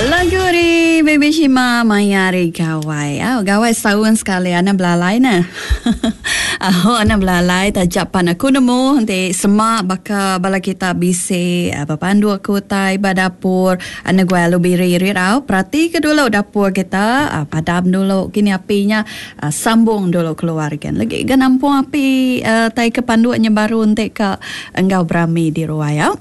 Lagu ari Baby Shima maya hari gawai. Au gawai setaun sekali anak belalai ne. Au anak belalai taja pan aku nemu enti sema baka bala kita bisi bepandu ke utai ba dapur anak guai alu biri ri au perati ke dulu dapur kita padam dulu kini api nya sambung dulu keluar gen. Legi ga nampung api tai ke panduk nya baru enti ka enggau berami di ruai au.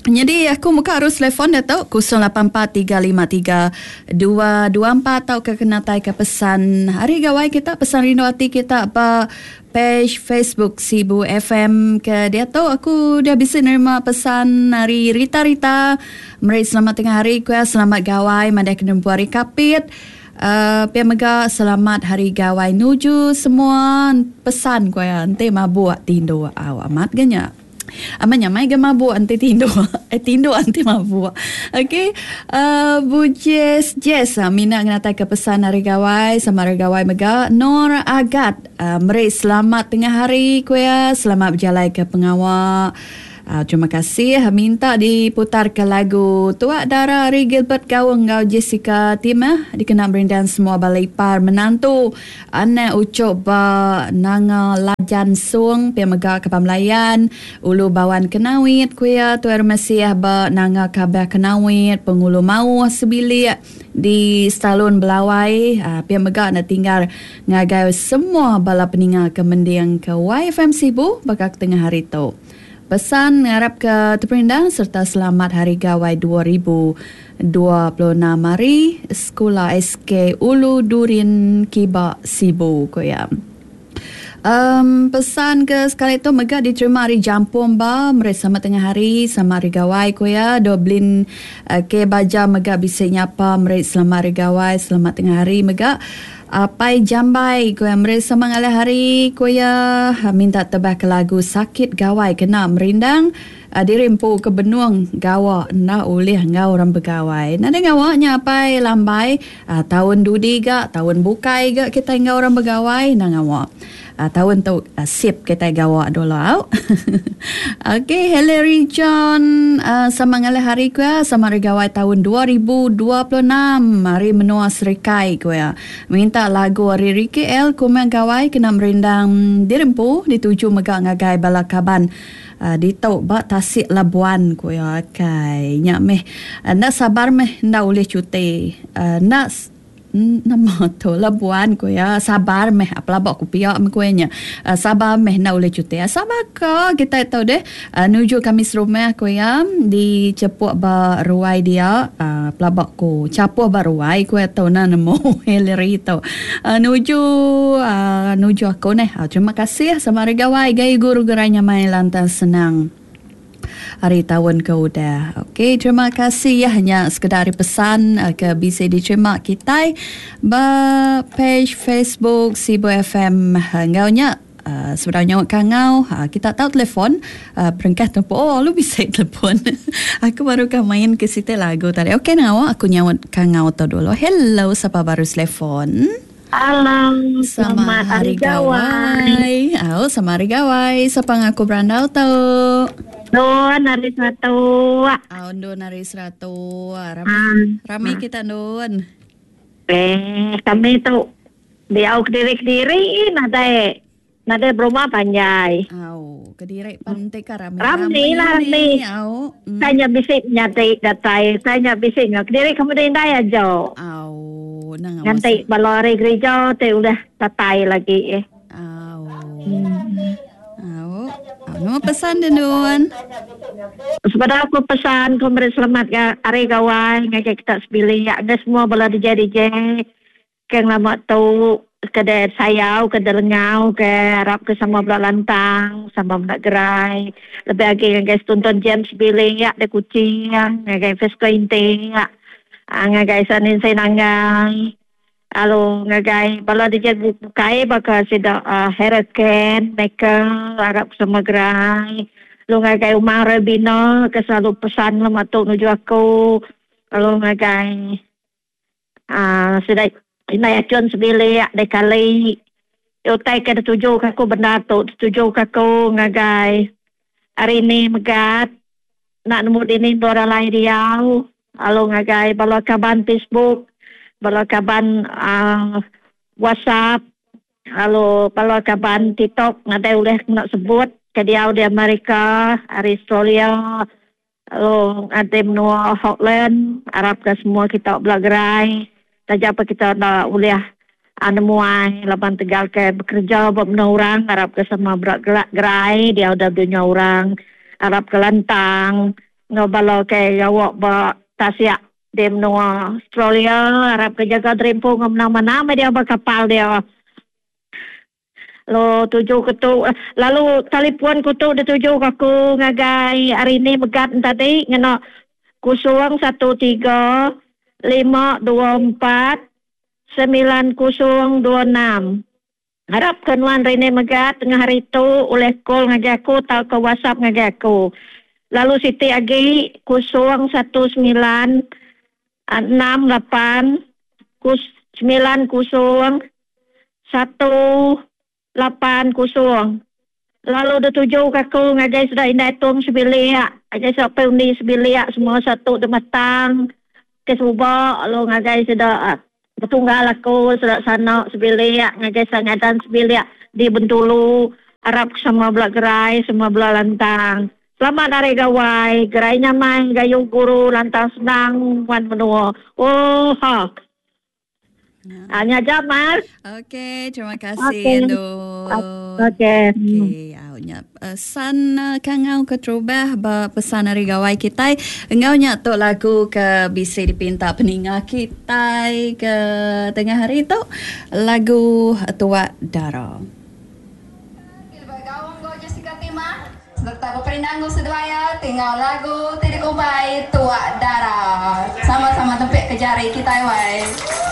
Nyadi aku muka arus telefon diatu 084353 224 tauka kena taika pesan hari gawai kita pesan rindu ati kita ba page Facebook Sibu FM ke diatu aku udah bisi nerima pesan ari Rita Rita meri selamat tengah hari ku iya selamat gawai madah ke nempu hari Kapit uhh pia mega selamat hari gawai nuju semua pesan ku iya enti mabuk tinduk au amat ga nya. Amat nyamai ga mabuk enti tinduk. Eh tinduk enti mabuk. Okey. Uh, Bu Jess Jess uh, mina ngenatai ke pesan hari gawai sama hari gawai mega Nur Agat uh, meri selamat tengah hari ku iya, selamat bejalai ke pengawa. Uh, terima kasih minta diputar ke lagu Tuak Dara ari Gilbert Gaung enggau Jessica Timah dikena merindang semua bala ipar menantu Anak Uchok ba Nanga Lajan Sung pia mega Kaban Belayan, Ulu Bawan Kenawit, ku iya Tuai Rumah Siah ba Nanga Kabah Kenawit, Pengulu Mauh sebilik di Stalun Belawai pia mega enda tinggal ngagai semua bala peninga ke mending ke YFM Sibu baka ke tengah hari tu. Pesan ngarapka teperindang sereta selamat Hari Gawai 2026 ari Sekula SK Ulu Durin Kiba Sibu, ku iya. Em pesan ke sekali tu mega diterima ari Jampong ba meri selamat tengah hari selamat Hari Gawai ku iya. Doblin K Baja mega bisi nyapa meri selamat Hari Gawai selamat tengah hari mega. Apai Jambai, ku iya meri sama ngalih hari, ku iya minta tebah ke lagu Sakit Gawai kena merindang diri empu ke benung gawa enda ulih enggau orang begawai. Nadai ngawa nya apai Lambai, taun dudi ga, taun bukai ga kitai enggau orang begawai enda ngawa. Taun tu sip kitai gawa dulu au. Ok Hillary John sama ngalih hari ku iya sama hari gawai taun 2026 ari menua Serikai ku iya. Minta lagu ari Ricky L Kumang Gawai kena merindang diri empu dituju mega ngagai bala kaban ditu ba Tasik Labuan ku iya. Kai nya meh enda sabar meh enda ulih cuti enda Nama tu Labuan ku iya sabar meh pelaba ku pia meh ku iya nya. Sabar meh enda ulih cuti. Sabar ka kitai tu deh nuju kami serumah ku iya di chepuk ba ruai dia pelaba ku chapuh ba ruai ku iya tu nah nemu Hillary tu. Nuju nuju aku neh. Terima kasih sama hari gawai gayu guru gerai nyamai lantang senang. Hari taun ke udah. Okey, terima kasih ya nya sekeda ari pesan eh, ke bisi diterima kitai ba page Facebook Sibu FM eh, enggau nya uh, sebedau nyaut kangau uh, kita tau telefon uh, berengkah telefon oh lu bisi telefon aku baru ka main ke siti lagu tadi okey nawa aku nyaut kangau tu dulu hello sapa baru telefon Halo, selamat hari gawai. Au, selamat hari gawai. Sapa ngaku berandau tu? Don hari seratu. Au, Don hari seratu. Rami, um, rami kita Don. Eh, kami tu diau kediri-kediri nadai Nadai berumah panjai. Au, kediri pan enti ka rami. Rami lah rami. Au. Mm. Saya nya bisi nyadi datai, saya nya bisi nya kediri ke meda indai aja. Au, nang Nganti bala ari gereja ti udah datai lagi eh. Au. Hmm. Au. Au, nama pesan dia Dun? Sebedau aku pesan, aku meri selamat ga hari gawai ngagai kita sebilik, ngagai semua bala DJ DJ. Ke ngelama tu ke deh sayau ke deh lengau ke arap ke sama bela lantang sama bela gerai lebih agi ngagai setuntun James Billy yak deh Kuching ngagai Fesco Inti yak ngagai Sanin Senanggai lalu ngagai bala DJ bukai baka sida Harold Ken Michael arap ke sama gerai lalu ngagai Umang Rebina ke selalu pesan ngelama tu nuju aku lalu ngagai Aaa sida indai achun sebilik deh kali utai ke dituju ka aku bendar tu dituju ka aku ngagai hari ni megat enda nemu dini endur alai diau. Lalu ngagai bala kaban Facebook, bala kaban uh, WhatsApp, lalu bala kaban TikTok nadai ulih kena sebut ke diau di Amerika, ari Australia, lalu ngagai menua Holland, arap ke semua kita bela gerai. Taja pa kita enda ulih nemuai laban tegal ke bekereja ba menua orang arap ke sama bela gerai diau da dunya orang arap ke lantang enggau bala ke gawa ba tasik di menua Australia arap ke jaga diri empu enggau menang manah meh diau ba kapal dia. Lalu tuju ke tu lalu talipun ku tu dituju ke aku ngagai hari ni megat tadi ngena 013 524 9026. Arap ke nuan Rene mega tengah hari tu ulih call ngagai aku tauka whatsapp ngagai aku. Lalu siti agi 019 68 90 180. Lalu dituju ke aku ngagai sida indai Tung sebilik, ngagai sida Pei Undi sebilik semua satu demetang ke suba lalu ngagai sida betunggal aku sida sana sebilik ngagai sida ngadan sebilik di Bentulu arap ke semua bela gerai semua bela lantang. Selamat Hari Gawai, gerai nyamai gayu guru lantang senang nguan menua. Ooha. Ah, nya aja Mar. Okey, terima kasih okay. Endu. Okey. Okey, au nya pesan eh, kangau ke terubah ba pesan hari gawai kitai. Enggau nya tu lagu ke bisi dipinta peninga kitai ke tengah hari tu lagu Tuak Dara. Gaung enggau Jessica Timah sereta beperindang enggau seduai iya ti enggau lagu ti dikumbai Tuak Dara. Sama-sama tempik ke jari kitai wai.